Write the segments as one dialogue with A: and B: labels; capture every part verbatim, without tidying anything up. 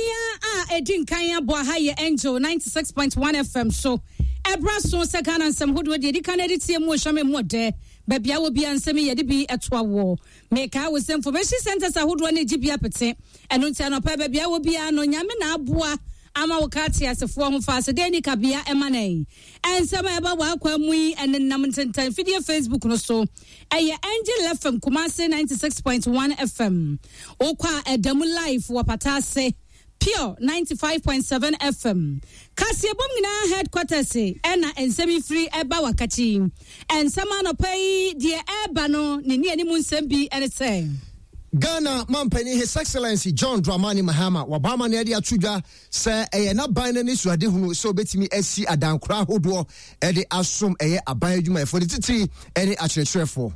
A: Nsia a ɛdi nkan abɔ ha yɛ Angel ninety-six point one F M so. Ɛbra so sɛ Ghana nsɛm hodoɔ deɛ ɛdi kan de tie mu ɔhwɛme mu ɔdɛ baabi a wɔ bia nsɛm yi yɛde bi ɛtoa wɔ. Meka wo sɛ information centers ahodoɔ ne gye bi apete. Ɛno nti anɔpa, baabi a wɔ bia no, Nyame na aboa ama wo ka te asefoɔ ho fa ase dɛn ni kabea ɛma nan. Ɛnsɛm a ɛba wɔ akwa mu yi ɛnenam ntentan fidie Facebook no so, ɛyɛ Angel F M Kumase ninety-six point one F M. Wokɔ a, ɛda mu live wɔ pata ase Pure ninety-five point seven F M. Kaseɛbom nyinaa headquarters ɛna nsɛm yi firi ɛba wakakyi. Nsɛm anɔpa yi deɛ ɛreba no ne ne anim nsɛm bi ɛne sɛ
B: Ghana mampanin, His Excellency John Dramani Mahama, waba ama ne de ato dwa sɛ ɛyɛ n'aban no ani so adehunu sɛ obɛtumi asi adankora ahodoɔ ɛde asom ɛyɛ aban adwumayɛfoɔ, ne titiri ɛne akyerɛkyerɛfoɔ.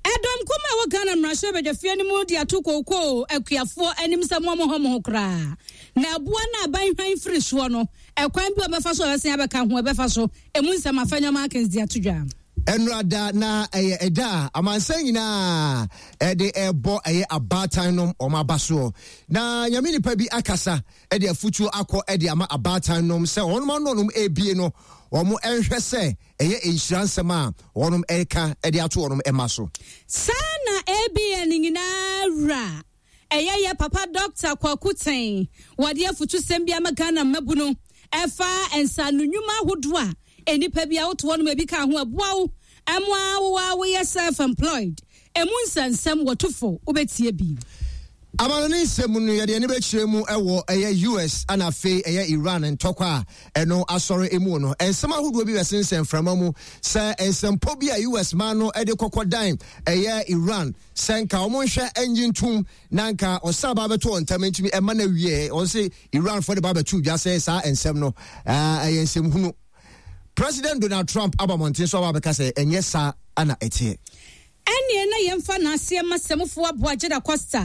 A: Ɛdɔm kum a ɛwɔ Ghana mmarahyɛ badwafie no mu de ato kookoo akuafoɔ anim sɛ mo mo hɔ mo ho koraa na ɛboa no aban hwan firi soɔ no, ɛkwan bi a wɔbɛfa so a wɔbɛsen abɛka ho ɛbɛfa so. Emu nsɛm Afenyo Markins de ato dwa.
B: Ɛnurada na ɛyɛ ɛda a amansan nyinaa ɛde ɛbɔ ɛyɛ abaatan nom wɔn aba soɔ, na Nyame nipa bi akasa ɛde afutuo akɔ ɛde ama abaatan nom sɛ wɔn ano nom ebie no, wɔn ɛnhwɛ sɛ ɛyɛ nhyira nsɛm a wɔn ɛreka ɛde ato wɔn ɛma so.
A: Saa na A B N nyinaa wura, ɛyɛ yɛ papa Doctor Kwaku Ten, wɔde afutusɛm bi ama Ghana mmabu no ɛfa nsano nnwuma ahodoɔ a nnipa bi a woto hɔ nom ebi ka ho ɛboa wo ɛmoa wo a woyɛ self employed. Emu nsɛnsɛm wɔtofo wobɛtie bi.
B: Amano ne nsɛm no, yɛde ani bɛkyerɛ mu ɛwɔ ɛyɛ U S ana afei ɛyɛ Iran ntɔkwa a ɛno asɔre emu no. Nsɛm ahodoɔ bi bɛsensɛn mframa mu sɛ nsɛmpɔ bi a U S man no de kɔkɔ dan ɛyɛ Iran sɛ nka wɔn nhwɛ ɛnyi ntum na nka ɔsan ba bɛto wɔn ntam ntumi ɛma no awie. Wɔn sɛ Iran fo de ba bɛto dwa sɛ saa nsɛm no ɛyɛ nsɛm hunu. President Donald Trump aba mmɔnten so aba abɛka sɛ ɛnyɛ saa ana ɛteɛ.
A: Ɛneɛ na yɛmfa n'aseɛ ma sɛmofoɔ aboa Gyeda Costa,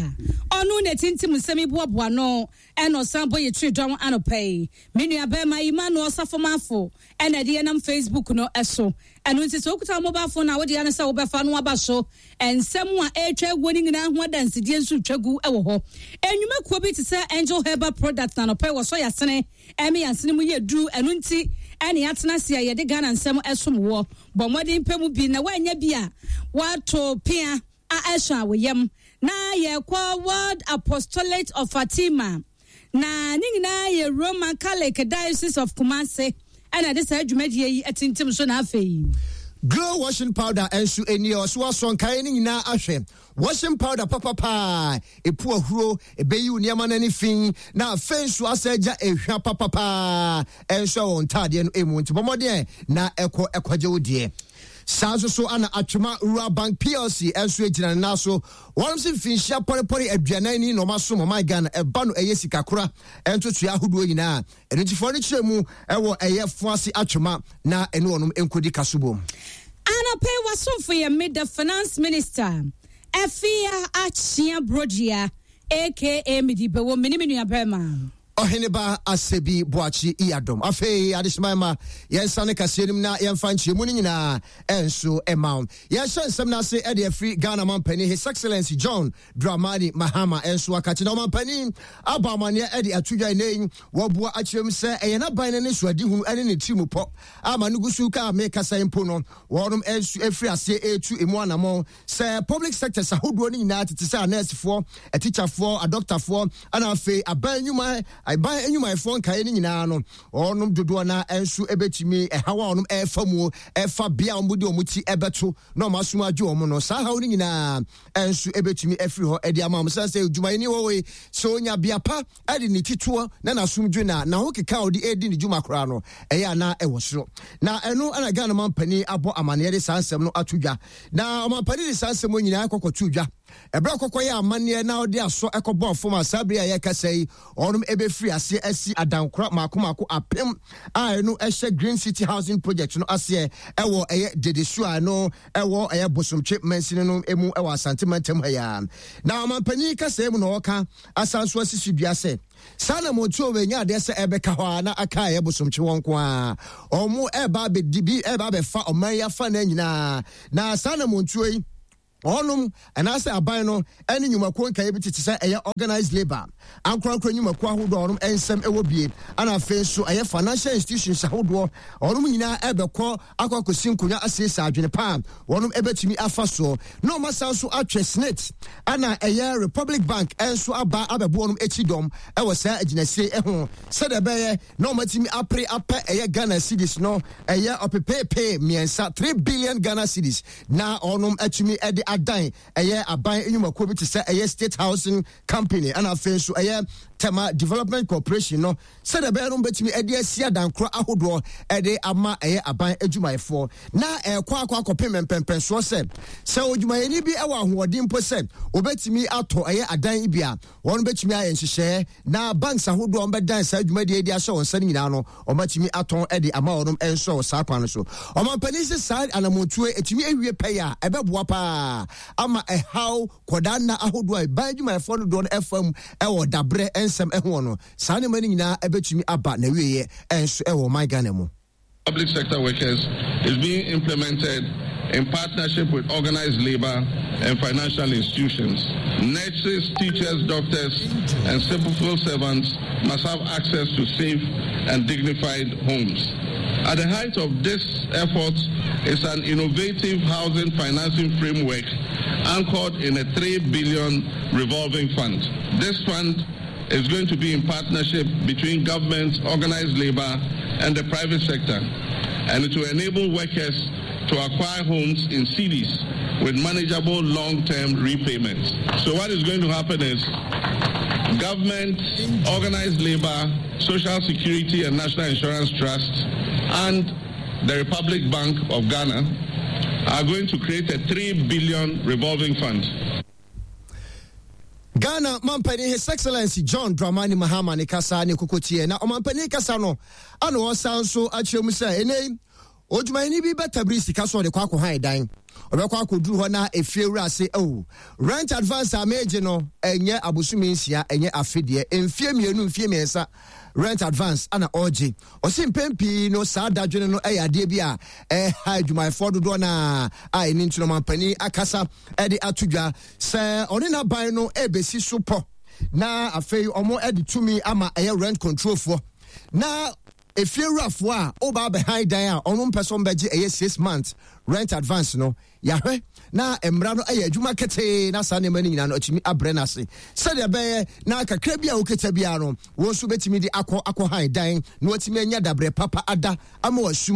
A: ɔno na ɛtintim nsɛm yi boaboa no ɛna ɔsan bɔ yɛ tiri dɔn anɔpa yi. Me nua bɛrima Emmanuel Ɔsafo ɛna ɛde yɛnam Facebook no ɛso. Ɛno nti sɛ wokuta mobile phone a, wode ano sɛ wobɛfa no aba so. Nsɛm a ɛretwa aguo no nyinaa ho adansedie nso twa gu wɔ hɔ. Enwumakuo bi te sɛ Angel Herbal Product na anɔpa yi wɔsɔ yɛasene ɛme yɛasene mu yɛ duru. Ɛno nti ɛne yɛatena ase a yɛde Ghana nsɛm ɛsom wɔ. Bɔ mmɔden pɛ mu bi na woanya bi a wato pea a ɛhyɛ a wɔyam na yɛkɔ World Apostolate of Fatima na ne nyinaa yɛ Roman Catholic Diocese of Kumase ɛna de saa dwumadie yi atintim so na afei
B: Glow washing powder nso ani ɔso asɔ nkae no nyinaa ahwɛ. Washing powder papapaa epu ahuro, ebeyi wo nneɛma no ani fi, na afei nso asɛ agya ehwa papapaa ɛnso ɛwɔ ntaadeɛ no emu. Nti bɔmmɔden na ɛkɔ ɛkɔgye wo deɛ. Saa nso so ana Atwema Rural Bank P L C nso gyina ne nan so. Wɔn nso mfinhyia pɔrepɔre aduanan ni na wɔn asom ɔman Ghana ɛba no ɛyɛ sikakora ntotoe ahodoɔ nyinaa. Ɛno ntifoɔ no kyerɛ mu ɛwɔ ɛyɛ Foase Atwema na ɛne wɔn nkɔdi kasobom.
A: Anɔpɛ wasomfo yɛ me, the Finance Minister Afia Akyea Brodua, A K A. Mede bɛwɔ me ne me nua bɛrima
B: Ɔheneba Asɛbi Boakye Iyadom. Afei adehyeman ma yɛnsa ne kaseɛ no mu na yɛmfa nkyerɛmu no nyinaa ɛnso ɛma wo. Yɛhyɛ nsɛm no ase ɛde afiri Ghana mampanin, His Excellency John Dramani Mahama, ɛnso akakye na ɔmampanin abɔ amanneɛ ɛde ato dwa ɛnɛ wɔboa akyerɛ mu sɛ ɛyɛ n'aban no ne soadihunu ɛne ne tirim pɔ ama no gu so ka mekasa mpo no, wɔnom ɛnso ɛfiri aseɛ ɛretu emu anammɔn sɛ public sectors ahodoɔ no nyinaa tete sɛ anɛɛsefoɔ, atikyafoɔ, adɔktafoɔ ɛna afei aban nnwuma, aban nnwumayɛfoɔ nkaeɛ no nyinaa no, wɔnom dodoɔ no nso ɛbɛtumi ɛhaw a wɔnom ɛrefa mu ɛfa bea a wɔn de wɔn ti ɛbɛto na wɔn asom adwo wɔn no, saa haw no nyinaa nso ɛbɛtumi afiri hɔ ɛde ama wɔn sɛ sɛ dwumayɛni wɔ hɔ yi sɛ onya bea pa ɛde ne ti toɔ na n'asomdwe na n'aho keka a ɔde ɛredi ne dwuma koraa no ɛyɛ ana ɛwɔ soro. Na ɛno ɛna Ghana mampanin abɔ amanneɛ de saa nsɛm no ato dwa. Na ɔmampanin de saa nsɛm nyinaa kɔkɔto dwa ɛberɛ kɔkɔ yɛ amanneɛ na ɔde asɔ ɛkɔbɔ fam a, saa bere a yɛkasa yi, ɔnom ɛbɛfiri aseɛ asi adankora maako maako apem a ɛno ɛhyɛ Green City Housing Project no aseɛ ɛwɔ ɛyɛ Dedesu a ɛno ɛwɔ ɛyɛ Bosomtwe mansini no mu ɛwɔ Asante mantam ha yi. Na ɔmampanin kasa mu na ɔka asan so asisi dua sɛ saa na mɔtuo wɔ nya adeɛ sɛ ɛbɛka hɔ a na aka ɛyɛ Bosomtwe wɔn nko a ɔmo ɛba abɛdi bi ɛba abɛfa ɔman yi afa na nyinaa. Na saa na mɔtuo yi Ɔnom anaasɛ aban no ɛne nnwumakuo nkaeɛ bi tete sɛ ɛyɛ organised labour, ankorankora nnwumakuo ahodoɔ a ɔnom nsɛm ɛwɔ bie, ana afei nso ɛyɛ financial institutions ahodoɔ, ɔnom nyinaa ɛbɛkɔ akɔ akɔsi nkonnwa asiesie adwene pa a wɔnom ɛbɛtumi afa soɔ, na ɔma san so atwɛ SSNIT ana ɛyɛ Republic Bank ɛnso aba abɛbo wɔnom akyi dɔm ɛwɔ saa agyinasie ɛho, sɛdeɛ ɛbɛyɛ na ɔmatumi apere apɛ ɛyɛ Ghana cedis no ɛyɛ ɔpepeepee mmiɛnsa, three billion Ghana cedis, na ɔnom atumi ɛde adan ɛyɛ aban nnwumakuo bi te sɛ ɛyɛ State Housing Company ɛna afei nso ɛyɛ Tema Development Corporation no, sɛdeɛ ɛbɛyɛ no bɛtumi ɛde asi adankorɔ ahodoɔ ɛde ama ɛyɛ aban adwumayɛfoɔ. Na ɛkɔ akɔ akɔpem mpɛmpɛnsoɔ sɛ sɛ odwumayɛni bi ɛwɔ ahoɔden mpo sɛ obɛtumi atɔ ɛyɛ adan bi a, wɔn bɛtumi ayɛ nhyehyɛɛ na banks ahodoɔ a wɔbɛdan saa dwumadie de ahyɛ wɔn nsa no nyinaa no, wɔmatumi atɔn de ama wɔn nso wɔ saa kwan no so. Ɔmampanin sɛ saa anammɔntuo ɛtumi awie pɛyɛ a, ɛbɛboa paa ama ɛhaw kɔdaa nna ahodoɔ a ban adwumayɛfoɔ no dodoɔ no ɛfa mu ɛwɔ dabrɛ nsɛm ɛho no, saa nneɛma no nyinaa ɛbɛtumi aba na wieɛ ɛnso ɛwɔ ɔman Ghana mu.
C: Public sector workers is being implemented in partnership with organized labor and financial institutions. Nurses, teachers, doctors, and civil servants must have access to safe and dignified homes. At the height of this effort is an innovative housing financing framework anchored in a three billion revolving fund. This fund is going to be in partnership between government, organized labor, and the private sector, and it will enable workers to acquire homes in cities with manageable long-term repayments. So what is going to happen is government, organized labor, Social Security and National Insurance Trust, and the Republic Bank of Ghana are going to create a three billion revolving fund.
B: Ghana mampanin His Excellency John Dramani Mahama ne kasa ne kokotie. Na ɔmampanin kasa no ana ɔsan so akyerɛ mu sɛ ɛnɛ odwumayɛni bi bɛtabiri sika so ɔde kɔ akɔhan dan, ɔbɛkɔ akɔduru hɔ na efie wura ase, oh, rent advance a meegye no ɛnyɛ abosome nsia, ɛnyɛ afe deɛ, mfie mmienu, mfie mmiɛnsa rent advance ana ɔregye. Ɔsi mpɛn pii no saa dadwene no ɛyɛ adeɛ bi a ɛha adwumayɛfoɔ dodoɔ naa a ɛni nti no ɔmampanin akasa ɛde ato dwa sɛ ɔne n'aban no ɛbɛsi so pɔ, na afei ɔmo ɛde tumi ama ɛyɛ rent control foɔ na efiewurafoɔ a ɔba abɛhan dan a ɔno mpɛ sɛ ɔmbɛgye ɛyɛ six months rent advance no, yɛahwɛ na mmara no ɛyɛ adwuma ketee na saa nneɛma no nyinaa no atumi abrɛ no ase, sɛdeɛ ɛbɛyɛ na kakra bi a wokita biara no, wɔn nso bɛtumi de akɔ akɔ han dan na wɔatumi anya dabrɛ papa ada ama wasum.